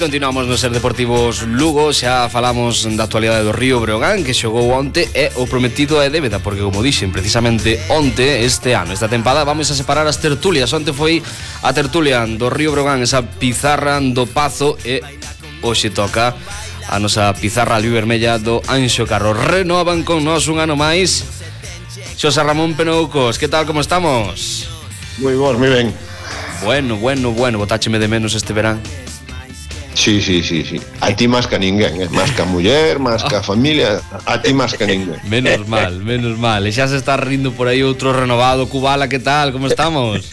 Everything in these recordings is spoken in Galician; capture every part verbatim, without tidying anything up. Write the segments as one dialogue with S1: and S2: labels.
S1: continuamos no Ser Deportivos Lugo. Xa falamos da actualidade do Río Breogán, que xogou onte, e o prometido é débeda, porque como dixen, precisamente onte, este ano, esta tempada, vamos a separar as tertulias. Onte foi a tertulia do Río Breogán, esa pizarra do Pazo, e hoxe toca a nosa pizarra albivermella do Anxo Carro. Renovan con nós un ano máis Xosé Ramón Penoucos. Que tal, como estamos?
S2: Moi bons, moi ben.
S1: Bueno, bueno, bueno, botácheme de menos este verán.
S2: Sí, sí, sí, sí. A ti máis que a ninguén, eh? Máis que a muller, máis que a familia, a ti máis que a ninguén.
S1: Menos mal, menos mal. E xa se está rindo por aí outro renovado. Cubala, que tal? Como estamos?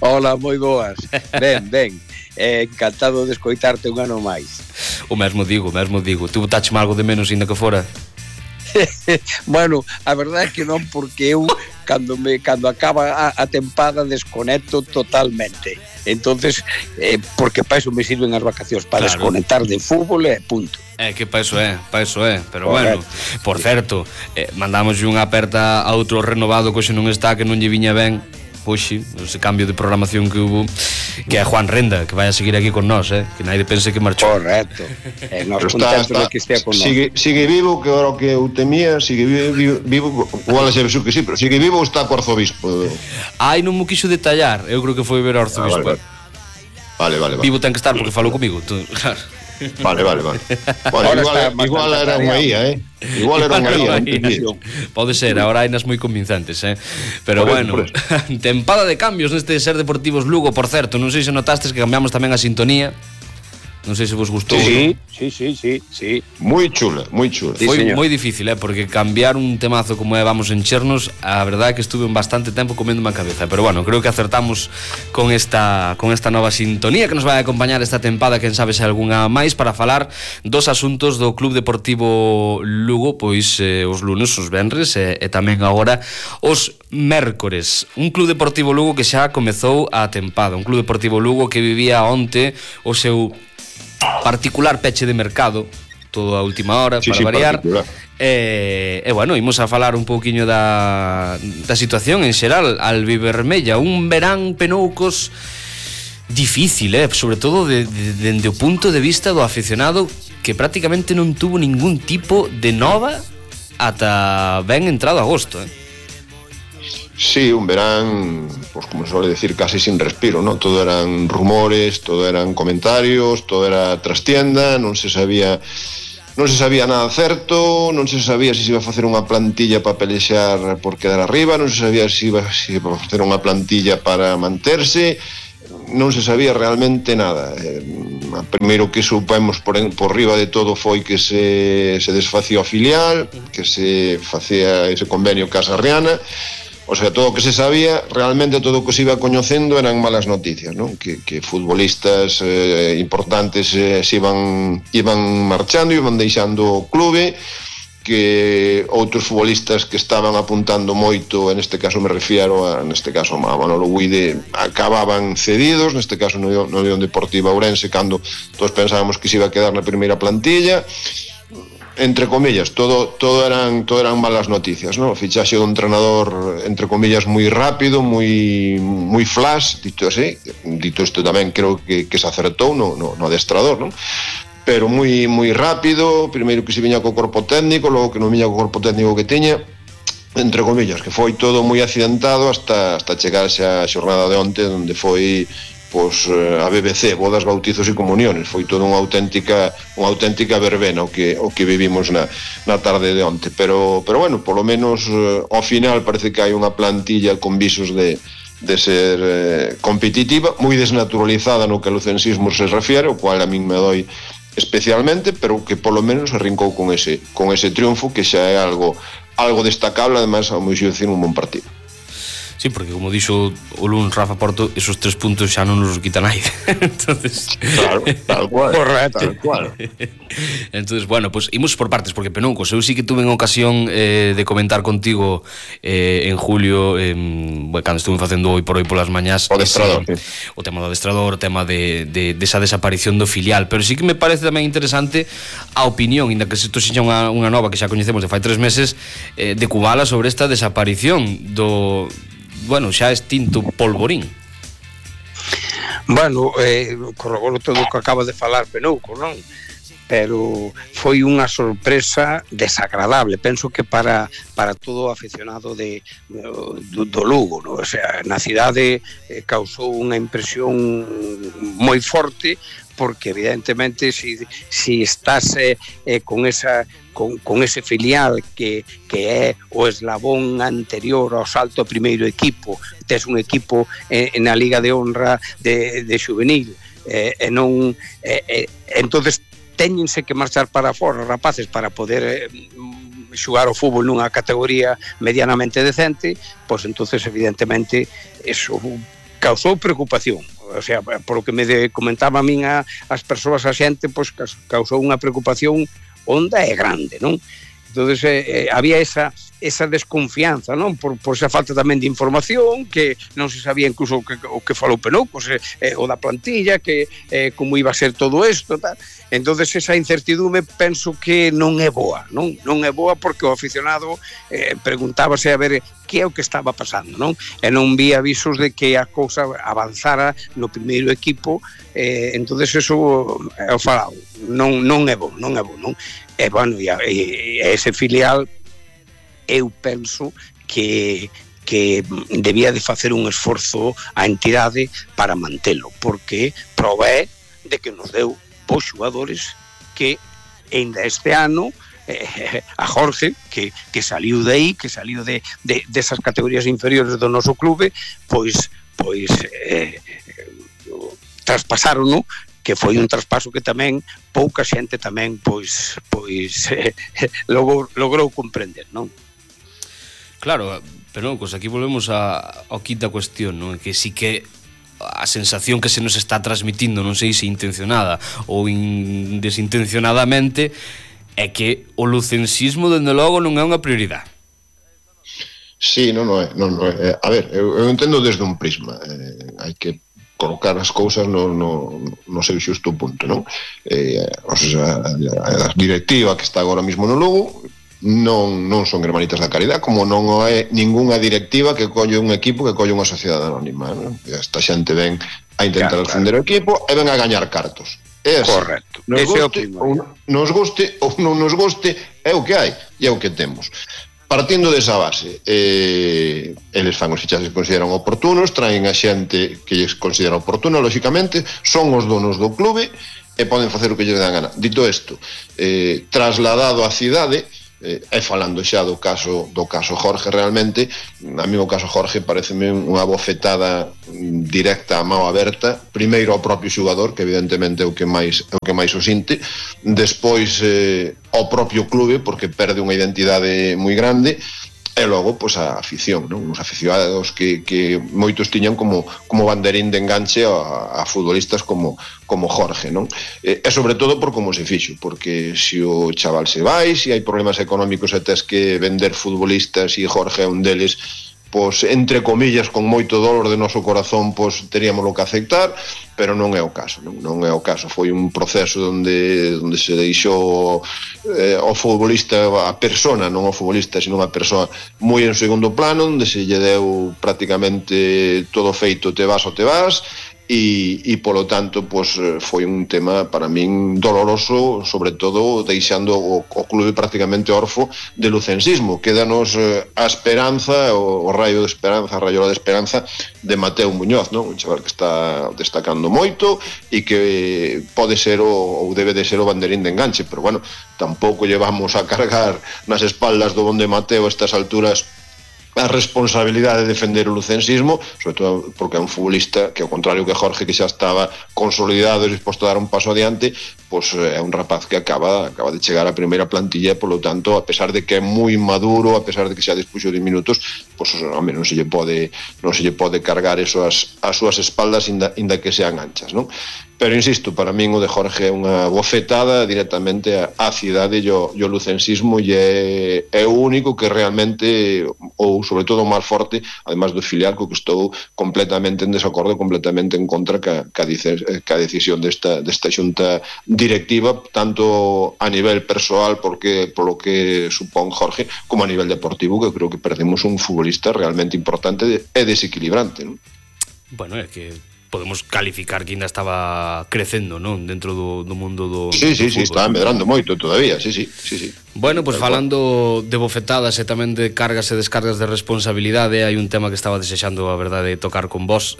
S3: Hola, moi boas. Ben, ben. Eh, encantado de escoitarte un ano máis.
S1: O mesmo digo, o mesmo digo. Tu botácheme algo de menos ainda que fora?
S3: Bueno, a verdade é que non, porque eu cando me cando acaba a, a tempada desconecto totalmente. Entonces, eh, porque para eso me sirven as vacacións, para claro, desconectar de fútbol e punto.
S1: É que para eso é, para eso é, pero correcto. Bueno, por certo, eh, mandamos unha aperta a outro renovado que hoxe non está, que non lle viña ben hoxe, ese cambio de programación que hubo, que é Juan Renda, que vai a seguir aquí con nós, eh? Que nadie pense que marchou.
S3: Correcto. Eh, nos contentos de que estea con nós.
S2: Sigue, sigue vivo, que ahora que eu temía, sigue vivo, vivo igual xa ves que sí, pero sigue vivo ou está co arzobispo?
S1: Ai, non mo quixo detallar, eu creo que foi ver o arzobispo.
S2: Ah, vale, vale, vale.
S1: Vivo ten que estar porque falou comigo, tú, claro.
S2: Vale, vale, vale. Bueno, igual, igual era unha I A, eh? Igual era unha I A.
S1: Pode ser, agora hai nas moi convincentes, eh? Pero por bueno, eso, tempada de cambios neste Ser Deportivos Lugo, por certo. Non sei se notastes que cambiamos tamén a sintonía. Non sei se vos gustou.
S3: Sí, sí, sí, sí, sí.
S2: Moi chula, moi chula.
S1: Sí, foi moi difícil, eh, porque cambiar un temazo como é Vamos enchernos, a verdade é que estuve un bastante tempo comendo má cabeza, pero bueno, creo que acertamos con esta con esta nova sintonía que nos vai acompañar esta tempada, quen sabe se algunha máis, para falar dos asuntos do Club Deportivo Lugo, pois eh, os lunes, os venres e, e tamén agora os mércores. Un Club Deportivo Lugo que xa comezou a tempada, un Club Deportivo Lugo que vivía onte o seu particular peche de mercado, todo a última hora, sí, para sí, variar. E, e bueno, imos a falar un pouquiño da, da situación en xeral albivermella. Un verán, Penoucos, difícil, eh? Sobre todo de, de, dende o punto de vista do aficionado, que prácticamente non tuvo ningún tipo de nova ata ben entrado agosto, eh?
S2: Sí, un verán, pues como se suele decir, casi sin respiro, ¿no? Todo eran rumores, todo eran comentarios, todo era trastienda, non se sabía non se sabía nada certo, non se sabía se se iba a facer unha plantilla para pelexar por quedar arriba, non se sabía se iba, se iba a facer unha plantilla para manterse, non se sabía realmente nada. Eh, primeiro que supemos por, en, por riba de todo foi que se, se desfacía o filial, que se facía ese convenio Casa Riana. O sea, todo o que se sabía, realmente todo o que se iba coñecendo eran malas noticias, ¿no? Que, que futbolistas eh, importantes eh, se iban, iban marchando, iban deixando o clube, que outros futbolistas que estaban apuntando moito, en este caso me refiero a, neste caso a Manolo Guide, acababan cedidos, neste caso no, no Unión Deportiva Ourense, cando todos pensábamos que se iba a quedar na primeira plantilla. Entre comillas, todo todo eran todo eran malas noticias, ¿no? Fichaxe dun entrenador, entre comillas, moi rápido, moi moi flash, dito así. Dito isto tamén creo que, que se acertou no, no, no adestrador, ¿no? Pero moi moi rápido, primeiro que se viña co corpo técnico, logo que non viña co corpo técnico que tiña, entre comillas, que foi todo moi accidentado hasta hasta chegarse a xornada de onte, onde foi pois a B B C, bodas, bautizos e comuniones. Foi toda unha auténtica unha auténtica verbena o que o que vivimos na na tarde de onte, pero pero bueno, polo menos ao final parece que hai unha plantilla con visos de de ser eh, competitiva, moi desnaturalizada no que ao lucensismo se refiere, o cual a min me doi especialmente, pero que polo menos arrincou con ese con ese triunfo, que xa é algo algo destacable, además ao meu xuízo un bon partido.
S1: Sí, porque como dixo o lunes Rafa Porto, esos tres puntos xa non nos quita naide. Entonces,
S2: claro, tal cual.
S3: Correcto.
S2: Tal cual.
S1: Entonces, bueno, pues imos por partes, porque Penoucos, eu sí que tuve en ocasión eh, de comentar contigo eh, en julio, eh, bueno, cando estuve facendo hoy por hoy polas mañás,
S2: o adestrador,
S1: ese, sí. O tema do adestrador, o tema de, de, de esa desaparición do filial, pero sí que me parece tamén interesante a opinión, inda que isto xa unha, unha nova que xa coñecemos de fai tres meses, eh, de Cubala sobre esta desaparición do, bueno, xa extinto Polvorín.
S3: Bueno, eh, corroboro todo o que acaba de falar Penouco, non? Pero foi unha sorpresa desagradable, penso que para para todo o aficionado de do, do Lugo, no? O sea, na cidade eh, causou unha impresión moi forte, porque evidentemente si, si estás eh, eh, con esa con, con ese filial que, que é o eslabón anterior ao salto ao primeiro equipo, tes un equipo eh, na Liga de Honra de, de juvenil, eh, e non eh, eh, entonces téñense que marchar para fora, rapaces, para poder eh, xugar o fútbol nunha categoría medianamente decente, pois entonces evidentemente eso causou preocupación. O sea, por o que me de, comentaba a min a, as persoas, a xente, pois causou unha preocupación honda e grande, non? Entonces eh, había esa esa desconfianza, non? Por, por esa falta tamén de información, que non se sabía incluso o que, o que falou Penouco, se, eh, o da plantilla, que eh, como iba a ser todo isto, tal. Entonces esa incertidume penso que non é boa, non? Non é boa porque o aficionado eh, preguntábase a ver que é o que estaba pasando, non? E non vi avisos de que a cousa avanzara no primeiro equipo, eh, entonces eso é o falado, non, non é bo, non é bo, non? E, bueno, e, e ese filial eu penso que que debía de facer un esforzo a entidade para mantelo, porque provee de que nos deu bons xogadores que ainda este ano eh, a Jorge, que, que saliu de aí, que saliu de, de, desas categorías inferiores do noso clube, pois pois eh, traspasaron, no? Que foi un traspaso que tamén pouca xente tamén pois pois eh, logrou, logrou comprender, non?
S1: Claro, pero pues aquí volvemos a, ao quinta cuestión, non? Que sí que a sensación que se nos está transmitindo, non sei se intencionada ou in, desintencionadamente, é que o lucensismo, dende logo, non é unha prioridade.
S2: Sí, non, non é, non, non é. A ver, eu, eu entendo desde un prisma, eh, hai que colocar as cousas no, no, no seu xusto punto, non? Eh, o sea, a, a directiva que está agora mismo no Lugo non, non son hermanitas da caridade, como non é ningunha directiva que colle un equipo que colle unha sociedade anónima, non? Esta xente ven a intentar claro, defender claro. o equipo e ven a gañar cartos. É así.
S3: Correcto.
S2: Nos guste, ou nos guste ou non nos guste, é o que hai e é o que temos. Partindo desa base, eh, eles fan os fichaxes que consideran oportunos, traen a xente que lles considera oportuna, lóxicamente, son os donos do clube e poden facer o que lles dan gana. Dito isto, eh, trasladado á cidade, eh, e falando xa do caso do caso Jorge, realmente a mí o caso Jorge pareceme unha bofetada directa a mao aberta, primeiro ao propio xogador, que evidentemente é o que máis é o que máis o sinte, despois eh, ao propio clube, porque perde unha identidade moi grande, e logo, pois, a afición, non? Os aficionados que, que moitos tiñan como, como banderín de enganche a, a futbolistas como, como Jorge, non? E, e sobre todo por como se fixo, porque se o chaval se vai, se hai problemas económicos e tes que vender futbolistas e Jorge é un deles, pois, entre comillas, con moito dolor de noso corazón, pois, teríamos lo que aceptar, pero non é o caso, non, non é o caso. Foi un proceso onde, onde se deixou eh, o futbolista, a persona, non o futbolista, sino a persoa moi en segundo plano, onde se lle deu prácticamente todo feito, te vas ou te vas, e, e polo tanto, pois, foi un tema para min doloroso, sobre todo deixando o, o clube prácticamente orfo de lucensismo. Quédanos eh, a esperanza, o, o raio de esperanza, a raiola de esperanza de Mateo Muñoz, non? Un chaval que está destacando moito e que pode ser o, ou debe de ser o banderín de enganche, pero bueno, tampouco llevamos a cargar nas espaldas do bonde Mateo a estas alturas a responsabilidade de defender o lucensismo, sobre todo porque é un futbolista que, ao contrario que Jorge, que xa estaba consolidado e disposto a dar un paso adiante, pois é un rapaz que acaba acaba de chegar á primeira plantilla e, polo tanto, a pesar de que é moi maduro, a pesar de que xa dispuxo de minutos, pois, home, non se lle pode non se lle pode cargar eso as, as súas espaldas, inda, inda que sean anchas, non? Pero, insisto, para min o de Jorge é unha bofetada directamente á cidade e o, e o lucensismo, e é, é o único que realmente, ou sobre todo o máis forte, además do filial, co que estou completamente en desacordo, completamente en contra ca, ca, ca decisión desta, desta xunta directiva, tanto a nivel persoal, porque polo que supón Jorge, como a nivel deportivo, que creo que perdemos un futbolista realmente importante e desequilibrante, non?
S1: Bueno, é que podemos calificar que ainda estaba crecendo, non? Dentro do, do mundo do
S2: Sí, sí,
S1: do
S2: sí,
S1: fútbol.
S2: está medrando moito todavía, sí, sí, sí, sí.
S1: Bueno, pois pues, falando de bofetadas e tamén de cargas e descargas de responsabilidade, hai un tema que estaba desexando, a verdade, tocar con vos.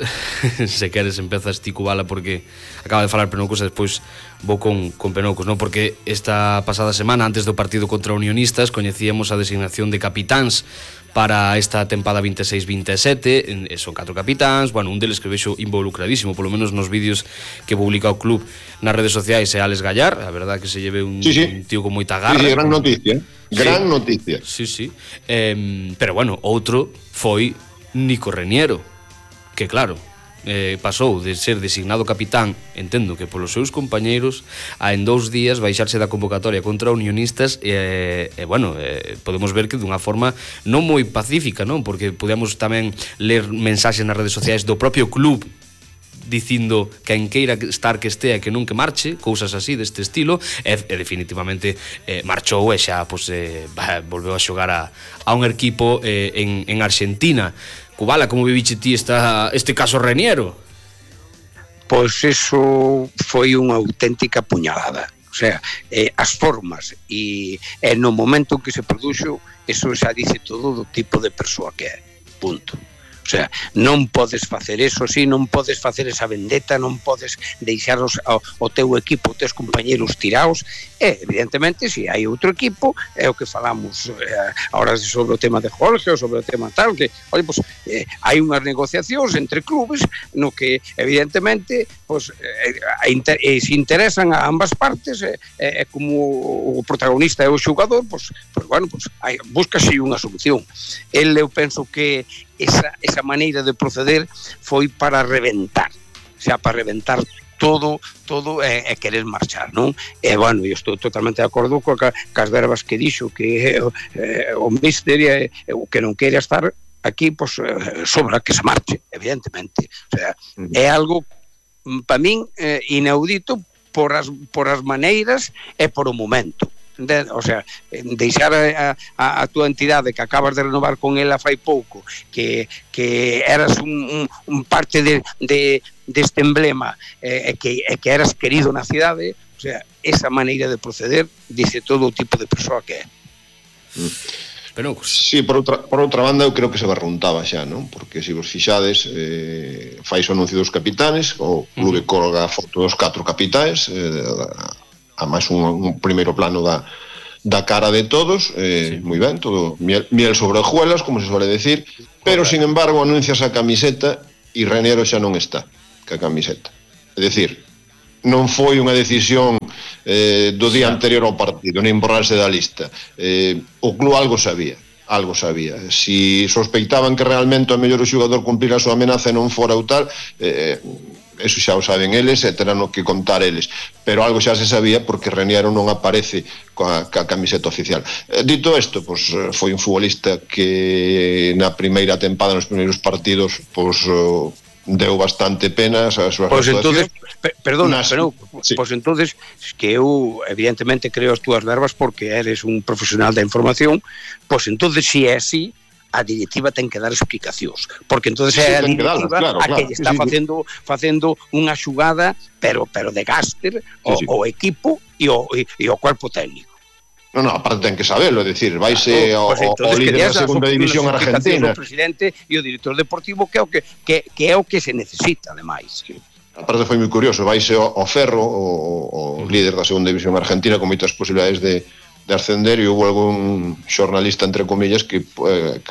S1: Se queres empezas ti cubala porque acaba de falar Penoucos e despois vou con, con Penoucos, non? Porque esta pasada semana, antes do partido contra Unionistas, coñecíamos a designación de capitáns para esta tempada veintiséis veintisiete, son catro capitáns, bueno, un deles que vexo involucradísimo, polo menos nos vídeos que publica o club nas redes sociais, é Alex Gallar, a verdad que se lleve un,
S2: sí, sí.
S1: un tío con moita garra.
S2: Sí, sí, gran noticia, gran
S1: sí.
S2: noticia.
S1: Sí, sí, eh, pero bueno, outro foi Nico Reniero, que claro, eh, pasou de ser designado capitán, entendo que polos seus compañeiros, a en dous días baixarse da convocatoria contra Unionistas e, eh, eh, bueno, eh, podemos ver que dunha forma non moi pacífica, non? Porque podemos tamén ler mensaxes nas redes sociais do propio club dicindo que en queira estar que estea que non que marche, cousas así deste estilo, e, e definitivamente eh, marchou e xa pues, eh, volveu a xogar a, a un equipo eh, en, en Argentina. Cubala, como viviche ti esta, este caso Reniero?
S3: Pois eso foi unha auténtica puñalada. O sea, eh, as formas e, e no momento que se produxo, eso xa dice todo do tipo de persoa que é. Punto. O sea, non podes facer eso así, non podes facer esa vendetta, non podes deixar os, o, o teu equipo, os teus compañeros tiraos, e evidentemente se hai outro equipo, é o que falamos eh, ahora sobre o tema de Jorge ou sobre o tema tal, que, oye, pues, eh, hai unhas negociacións entre clubes no que evidentemente pues, eh, inter, eh, se interesan a ambas partes, e eh, eh, como o protagonista é o xogador, pues, pues bueno, pues, hai, búscase unha solución. El, eu penso que esa, esa maneira de proceder foi para reventar, o sea, para reventar todo, todo e, e querer marchar, non? E, bueno, eu estou totalmente de acordo co, ca, cas verbas que dixo, que eh, o míster e o que non quere estar aquí, pois, pues, sobra que se marche, evidentemente. O sea, é algo, para min, eh, inaudito por as, por as maneiras e por o momento. De, o sea, deixar a, a, a tua entidade que acabas de renovar con ela fai pouco, que, que eras un, un, un parte de, de, deste emblema e eh, que, eh, que eras querido na cidade, o sea, esa maneira de proceder dice todo o tipo de persoa que é.
S2: Pero, sí, por outra, por outra banda eu creo que se barruntaba xa, non? Porque se vos fixades, eh, fais o anuncio dos capitanes, o clube uh -huh. colga a foto dos catro capitais, eh, a máis un, un primeiro plano da, da cara de todos, eh, sí. moi ben, todo miel, miel sobre hojuelas, como se suele decir, pero, correcto. Sin embargo, anuncias a camiseta e Reniero xa non está ca camiseta. É dicir, non foi unha decisión eh, do día anterior ao partido, nin borrarse da lista. Eh, o club algo sabía, algo sabía. Si sospeitaban que realmente o mellor o xogador cumplir a súa amenaza e non fora o tal, eh, eso xa o saben eles e terán que contar eles, pero algo xa se sabía porque Reniero non aparece coa, coa camiseta oficial. Eh, dito isto, pues, foi un futbolista que na primeira tempada, nos primeiros partidos, pues, uh, deu bastante pena a súa
S3: pues
S2: situación.
S3: Entonces, per, perdona, Nas, pero sí. Pues entonces que eu evidentemente creo as túas verbas porque eres un profesional da información, pues entonces si é así, a directiva ten que dar explicacións, porque entonces é a directiva claro, a que claro, está sí, facendo sí. facendo unha xugada, pero pero de gaster o, sí, sí. o equipo e o, e, e o cuerpo técnico.
S2: Non, non, aparte ten que sabelo, é dicir, vaise
S3: claro, pues
S2: o, o líder da segunda división argentina.
S3: O presidente e o director deportivo que é o que, que, que é o que se necesita, ademais.
S2: Sí. Aparte foi moi curioso, vaise o, o Ferro, o, o líder da segunda división argentina, con moitas posibilidades de de ascender, e houve algún xornalista, entre comillas, que, eh,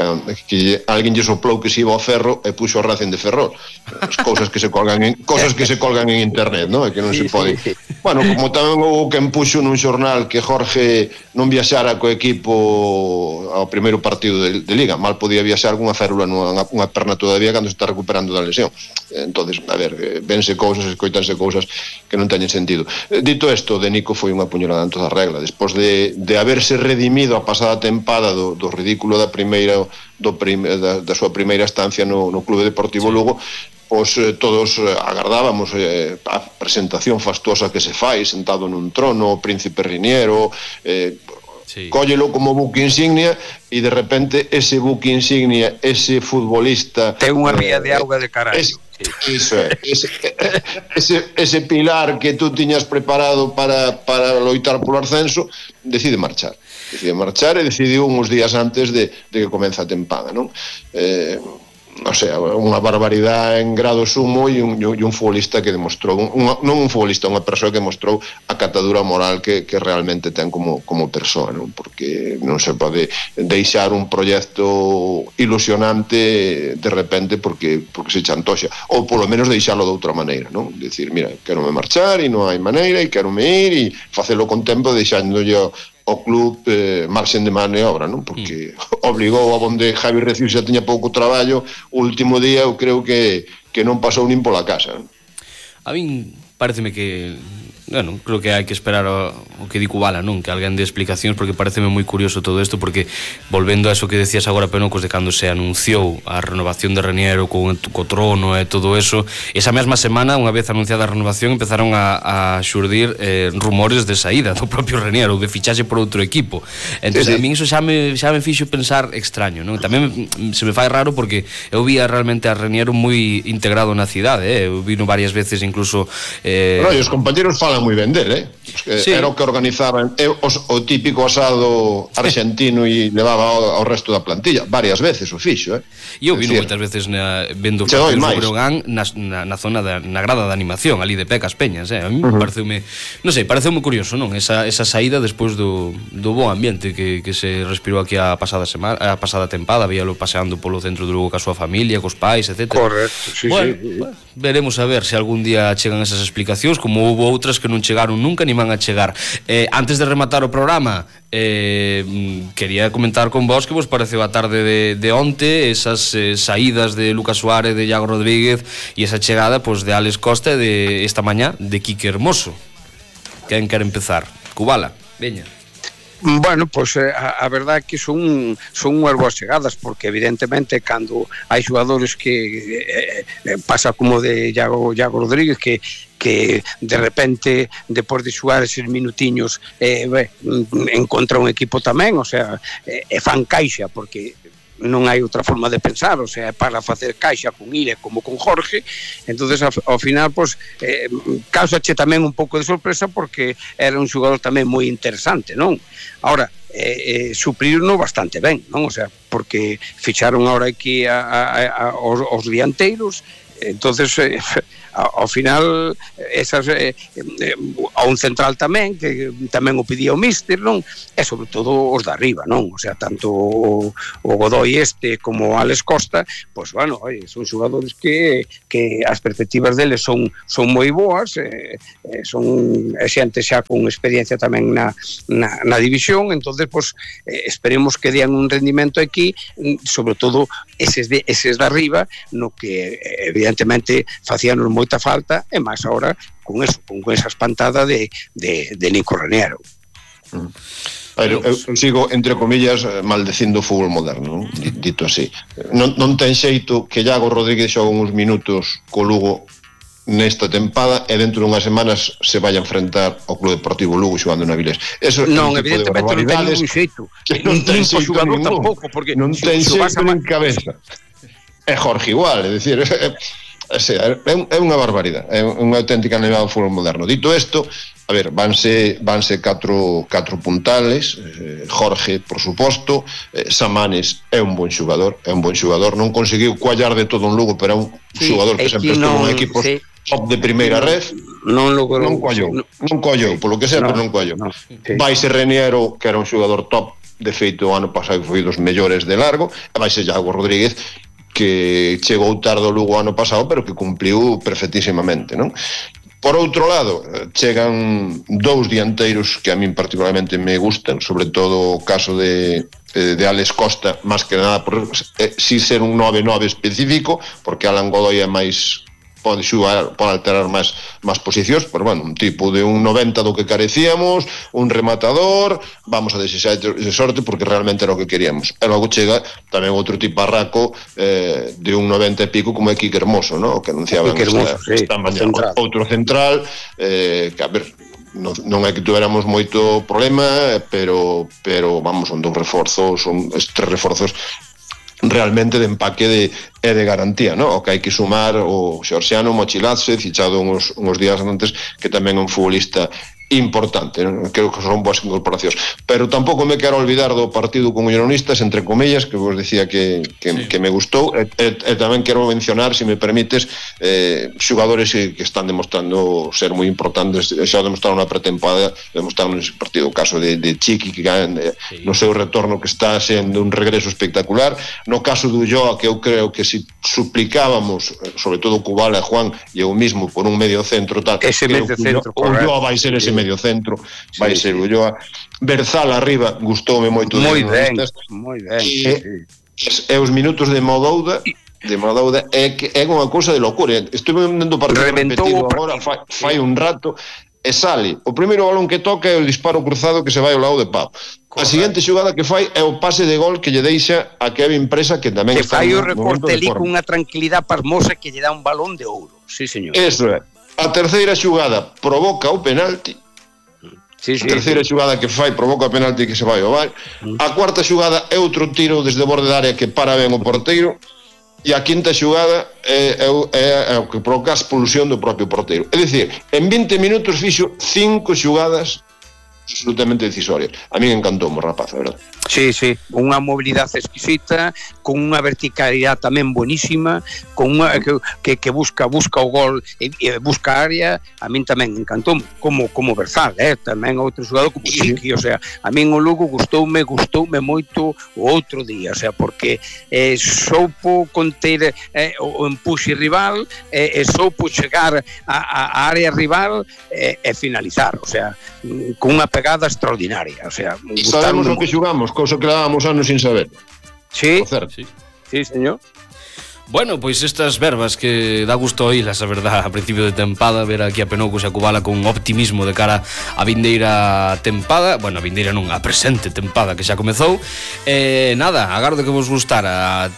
S2: que alguén lle soplou que se iba ao Ferro e puxo o Racing de Ferrol. As cousas que se colgan en cousas que se colgan en internet, ¿no? E que non se pode. Bueno, como tamén houve quen puxo nun xornal que Jorge non viaxara co equipo ao primeiro partido de, de Liga, mal podía viaxar cunha férula nunha unha perna todavía cando se está recuperando da lesión. Entonces, a ver, vense cousas, escoitanse cousas que non teñen sentido. Dito isto, de Nico foi unha puñalada en toda a regla. Despois de de haberse redimido a pasada tempada do, do ridículo da primeira do prim, da, da súa primeira estancia no, no Clube Deportivo sí. Lugo, pois eh, todos eh, agardábamos eh, a presentación fastuosa que se fai sentado nun trono, o príncipe Reniero, eh, sí. Cóllelo como buque insignia e de repente ese buque insignia, ese futbolista
S3: ten unha ría eh, de auga de carallo. Es,
S2: Iso é, ese, ese, ese pilar que tú tiñas preparado para, para loitar polo ascenso, decide marchar. Decide marchar e decidiu uns días antes de, de que comeza a tempada, non? Eh, o sea, unha barbaridade en grado sumo e un, e un futbolista que demostrou, un, non un futbolista, unha persoa que demostrou a catadura moral que, que realmente ten como, como persoa, non? Porque non se pode deixar un proxecto ilusionante de repente porque, porque se chantoxa, ou polo menos deixalo de outra maneira, non? Decir, mira, quero me marchar e non hai maneira e quero me ir e facelo con tempo deixándolle o club eh, marxen de maniobra, non? Porque mm. obligou a onde Javi Recius xa tiña pouco traballo, o último día eu creo que, que non pasou nin pola casa, non?
S1: A min pareceme que bueno, creo que hai que esperar o, o que di Kubala, non? Que alguén de explicacións, porque pareceme moi curioso todo isto, porque volvendo a eso que decías agora, Penocos, de cando se anunciou a renovación de Raniero co, co trono e todo eso, esa mesma semana, unha vez anunciada a renovación, empezaron a, a xurdir eh, rumores de saída do propio Raniero, de fichaxe por outro equipo. Entón, sí, sí. A min iso xa me, xa me fixo pensar extraño, non? Tamén se me fai raro porque eu vía realmente a Raniero moi integrado na cidade, eh? Eu vino varias veces incluso... Eh...
S2: Pero, os compañeros falan moi ben del, eh? Sí. Era o que organizaban eh, os, o típico asado argentino e levaba ao, ao resto da plantilla varias veces o fixo, eh?
S1: E eu vino moitas veces na, vendo o Breogán na, na, na zona da, na grada de animación ali de Pecas Peñas, eh? A mí uh-huh. pareceume, non sei, pareceume curioso, non? Esa, esa saída despois do, do bo ambiente que, que se respirou aquí a pasada semana, a pasada tempada, víalo paseando polo centro de Lugo ca súa familia, cos pais, etcétera.
S3: Correcto, sí,
S1: bueno,
S3: sí.
S1: Bueno, veremos a ver se algún día chegan esas explicacións, como houve outras que non chegaron nunca ni van a chegar. Eh, antes de rematar o programa, eh, quería comentar con vos que vos pareceu a tarde de, de onte esas eh, saídas de Lucas Suárez, de Iago Rodríguez e esa chegada pues, de Alex Costa e de esta mañá de Quique Hermoso. Quen quer empezar? Kubala, veña.
S3: Bueno, pois pues, a, a verdade é que son son unhas boas chegadas, porque evidentemente cando hai xogadores que eh, pasa como de Iago, Iago Rodríguez que que de repente depois de xogar eses minutiños eh, be, encontra un equipo tamén, o sea, eh, e fan caixa porque non hai outra forma de pensar, o sea, para facer caixa con Ile como con Jorge, entonces ao, ao final, pois, eh, causache tamén un pouco de sorpresa porque era un xogador tamén moi interesante, non? Ahora, eh, eh, supriron bastante ben, non? O sea, porque ficharon ahora aquí a, a, a, os, os dianteiros, entonces eh, ao final esas eh, eh, a un central tamén que tamén o pedía o míster, non? E sobre todo os de arriba, non? O sea, tanto o, o Godoy este como o Alex Costa, pois bueno, oye, son xogadores que que as perspectivas deles son son moi boas, eh, eh, son xente xa con experiencia tamén na, na, na división, entonces pois eh, esperemos que dean un rendimento aquí, sobre todo eses de eses de arriba, no que evidentemente facíanos moita falta, e máis agora con eso, con esa espantada de, de, de Nico Raniero.
S2: Mm. A ver, eu sigo, entre comillas, maldecindo o fútbol moderno, non? Dito así. Non, non ten xeito que Iago Rodríguez xoga uns minutos co Lugo nesta tempada e dentro dunhas semanas se vai a enfrentar ao Club Deportivo Lugo xogando na Vilés. Eso
S3: non, é un evidentemente non ten ningún xeito.
S2: Non ten xeito
S3: ningún tampouco, porque
S2: non ten xeito nin cabeza. É Jorge igual, é dicir, é, é unha barbaridade, é unha auténtica nevada do fútbol moderno. Dito isto, a ver, vanse, vanse catro, catro puntales, eh, Jorge, por suposto, eh, Samanes é un bon xogador, é un bon xogador, non conseguiu coallar de todo un Lugo, pero é un sí, xogador que sempre estuvo en equipos sí. top de primeira ref, non, logrou, non coallou, no, non coallou, polo que sea, no, pero non coallou. No, sí. Vaise Raniero, que era un xogador top, de feito o ano pasado foi dos mellores de largo, e vaise Iago Rodríguez, que chegou tarde ao Lugo ano pasado, pero que cumpliu perfectísimamente, non? Por outro lado, chegan dous dianteiros que a min particularmente me gustan, sobre todo o caso de, de Alex Costa, máis que nada por eh, si ser un nove nove específico, porque Alan Godoy é máis pode xugar, pode alterar máis máis posicións, pero bueno, un tipo de un noventa do que carecíamos, un rematador, vamos a desexar de sorte porque realmente era o que queríamos. E logo chega tamén outro tiparraco eh, de un noventa e pico como é Quique Hermoso, ¿no? O que anunciaban esta, sí, esta mañá. Central. Outro central, eh, que a ver, non, non é que tuéramos moito problema, pero pero vamos, son dous reforzos, son estes reforzos realmente de empaque de, e de garantía, no? O que hai que sumar o Xorxiano Mochilatse, fichado uns, uns días antes, que tamén é un futbolista importante, non? Creo que son boas incorporacións, pero tampouco me quero olvidar do partido con Unionistas, entre comillas, que vos decía que, que, sí. que me gustou, e, e, e tamén quero mencionar, se me permites, eh, xogadores que, que están demostrando ser moi importantes, xa o demostraron na pretempada, demostraron nese partido, o caso de, de Chiqui, que eh, sí. no seu retorno que está sendo un regreso espectacular, no caso do Ulloa, que eu creo que se suplicábamos, sobre todo Cubala, Juan e eu mismo, por un medio centro tal,
S3: ese medio centro,
S2: o Ulloa vai ser ese medio centro, sí, vai ser o Ulloa. Berzal arriba, gustoume moito.
S3: Moi ben, moi ben.
S2: E, sí. e os minutos de Modouda, de Modouda é que é unha cousa de locura. Estuve vendo o partido repetido agora, fai, fai un rato, e sale. O primeiro balón que toca é o disparo cruzado que se vai ao lado de Pau. A seguinte xogada que fai é o pase de gol que lle deixa a Kevin Presa, que tamén
S3: que
S2: está
S3: fai o recorte ali con unha tranquilidade pasmosa que lle dá un balón de ouro. Sí, señor.
S2: Eso é. A terceira xogada provoca o penalti.
S3: Sí, sí,
S2: a terceira
S3: sí.
S2: xogada que fai provoca o penalti que se vai ao bar. A cuarta xogada é outro tiro desde o borde da área que para ben o porteiro. E a quinta xogada é, é, é, é o que provoca a expulsión do propio porteiro. É dicir, en vinte minutos fixo cinco xogadas absolutamente decisorias. A mí encantou o rapaz, a verdade.
S3: Sí, sí, unha mobilidade exquisita, con unha verticalidade tamén buenísima, con unha que, que, que busca busca o gol e, e busca a área. A min tamén encantou como como Berzal, eh, tamén outro xogador como Chiqui, o sea, a min o Lugo gustoume, gustoume moito o outro día, o sea, porque eh, soupo conter eh, o empuxe rival, eh, e soupo chegar a, a área rival e eh, finalizar, o sea, con unha pegada extraordinaria, o sea,
S2: e sabemos o que xugamos, cousa que levábamos anos sin saber.
S3: Sí, sí, sí, señor.
S1: Bueno, pois estas verbas que dá gusto oílas, a verdad, a principio de tempada, ver aquí a Penoucos e a Cubala con optimismo de cara a vindeira tempada, bueno, a vindeira non, a presente tempada que xa comezou. Eh, nada, agardo que vos gustara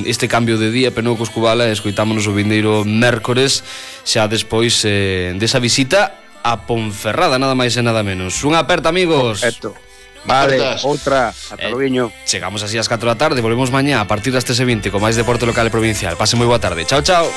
S1: este cambio de día, Penoucos, Cubala, e escoitámonos o vindeiro mércores, xa despois eh, desa visita a Ponferrada, nada máis e nada menos. Unha aperta, amigos.
S3: Perfecto. Vale, outra, ata logo. Eh,
S1: chegamos así ás catro da tarde, volvemos mañá a partir das tres e vinte con máis deporte local e provincial. Pase moi boa tarde. Chao, chao.